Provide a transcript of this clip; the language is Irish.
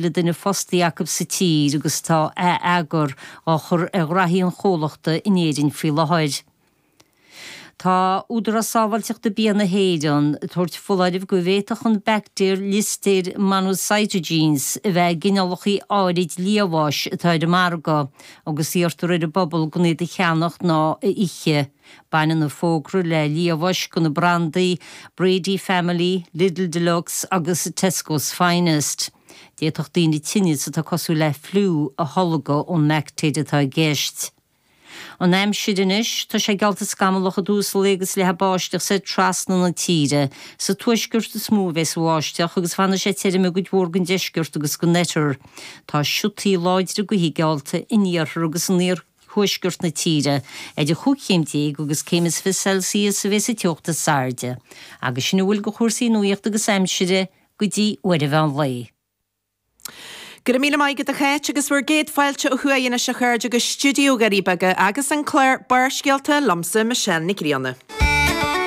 duine fostaí acu sa tír agus tá ath-eagar á chur ar ghraithí an chomhlachta in Éirinn faoi láthair. Tá Údarás Sábháilteachta Bia na hÉireann ag tabhairt foláirimh go bhféadfadh an baictéar Listeria monocytogenes a bheith i gcineálacha áirid liamháis atá ar an margadh agus iarrtar ar an bpobal gan iad a cheannach ná a ithe. Baineann an fógra le liamhás de na brandaí Brady Family, Lidl Deluxe agus Tesco's Finest. D'fhéadfadh daoine tinneas atá cosúil le fliú a tholgadh ón mbaictéar atá i gceist. An aimsir anois, tá sé geallta scamallach i dtús an lae agus leathadh báisteach soir trasna na tíre. Sa tuaisceart is mó a bheas an bháisteach agus fanfaidh sé tirim i gcuid mhór den deisceart agus den oirthear. Tá siotaí láidre gaoithe geallta in iarthar agus in iarthuaisceart na tíre. Idir chúig chéim déag agus céim is 20 Celsius a bheas an teocht is airde. Agus sin a bhfuil de chúrsaí nuachta agus aimsire go dtí uair an mheán lae. Go raibh míle maith agat a Cháit agus bhur gcéad fáilte ó thuaidh anois a chairde go stiúideo Dhoirí Beaga agus an clár Barrscéalta liomsa Michelle Nic Grianna.